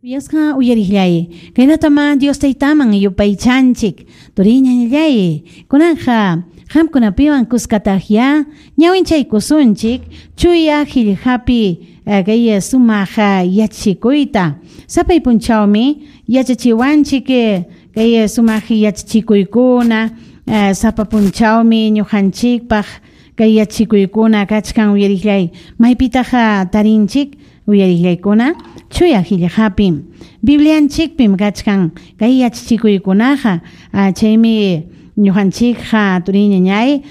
Kuyasqa uyariqllay, kaynatamá Dios Taytaman yupaychanchik, turiñañallay, kunanqa qamkunapiwan kuskataqyá ñawinchaykusunchik chuya qillqapi kay sumaq yachachikuyta. Sapay punchawmi yachachiwanchik kay sumaq yachachikuykuna, sapa punchawmi ñuqanchikpaq kay yachachikuykuna kachkan uyariqllay. Maypitaq tarinchik uyariqllaykuna? Chuya qillqapim. Biblianchikpim kachkan kay yachachikuykunaqa, chaymi ñuqanchikqa turiñañay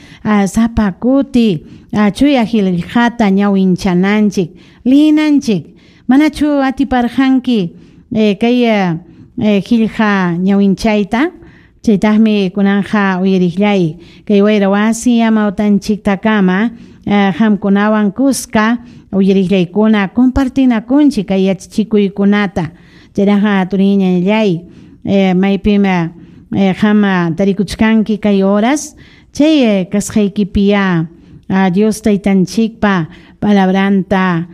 sapa kuti chuya qillqata ñawinchananchik, liyinanchik. Manachu atiparqanki kay qillqa ñawinchayta? Chaytaqmi kunanqa uyariqllay kay wayra wasi amawtanchiktakama qamkunawan kuska uyariqllaykuna compartinakunchik kay yachachikuykunata. Chayraqa turiñañallay, maypim qam tarikuchkanki kay horas, chay kasqaykipiyá Dios Taytanchikpa palabranta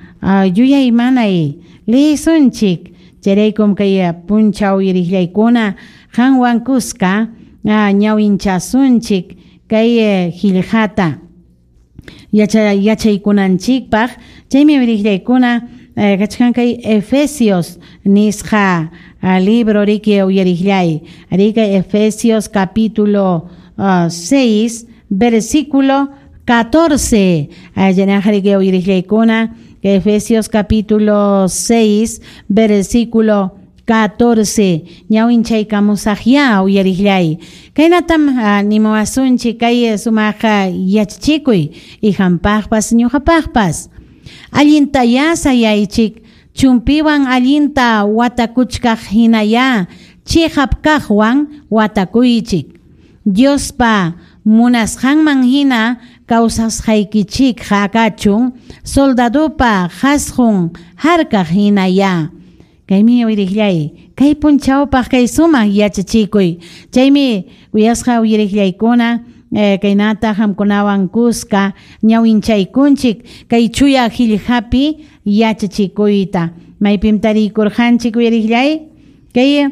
yuyaymanay leyisunchik. Chayraykum kay punchaw uyariqllaykuna qanwan kuska ñawinchasunchik kay qillqata yachaykunanchikpaq. Chaymi uyariqllaykuna kachkan kay Efesios nisqa libro riki uyariqllay. Riki Efesios capítulo 6 versículo 14. Allanaqa riki uyariqllaykuna Efesios capítulo 6 versículo 14. Ñawinchaykamusaqyá uyariqllay. Kaynatam nimuwasunchik kay sumaq yachachikuy ihampaqpas ñuqapaqpas. Allintayá sayaychik, chumpiwan allinta watakuchkaq hinayá chiqap kaqwan watakuychik. Diospa munasqanman hina kawsasqaykichikqa kachun soldadopa qasqun harkaq hinayá. Kaymi uyariqllay, kay punchawpaq kay sumaq yachachikuy. Chaymi kuyasqa uyariqllaykuna kaynata qamkunawan kuska ñawinchaykunchik kay chuya qillqapi yachachikuyta. Maypim tariykurqanchik uyariqllay? Kay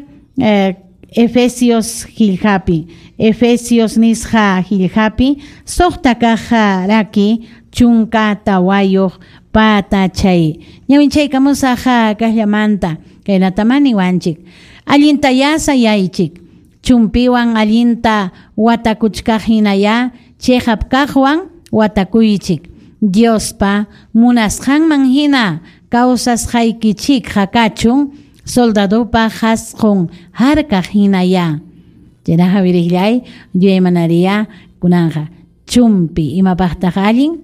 Efesios qillqapi, Efesios nisqa qillqapi suqta kaq raki chunka tawayuq patachay. Ñawinchaykamusaq kaqllamanta kaynatamá niwanchik. Allintayá sayaychik, chumpiwan allinta watakuchkaq hinayá chiqap kaqwan watakuychik. Diospa munasqanman hina kawsasqaykichikqa kachun soldadopa qasqun harkaq hinayá. Chaynaqa uyariqllay, yuyaymanariya kunanqa chumpi imapaqtaq allin?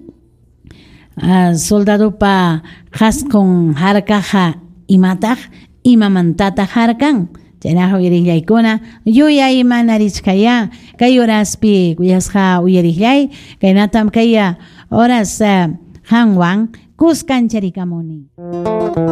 Soldadopa qasqun harkaqqa imataq, imamantataq harkan? Chaynaqa uyariqllaykuna yuyaymanarichkayá kay horaspi kuyasqa uyariqllay, kaynatam kay horas qanwan kuskancharikamuni.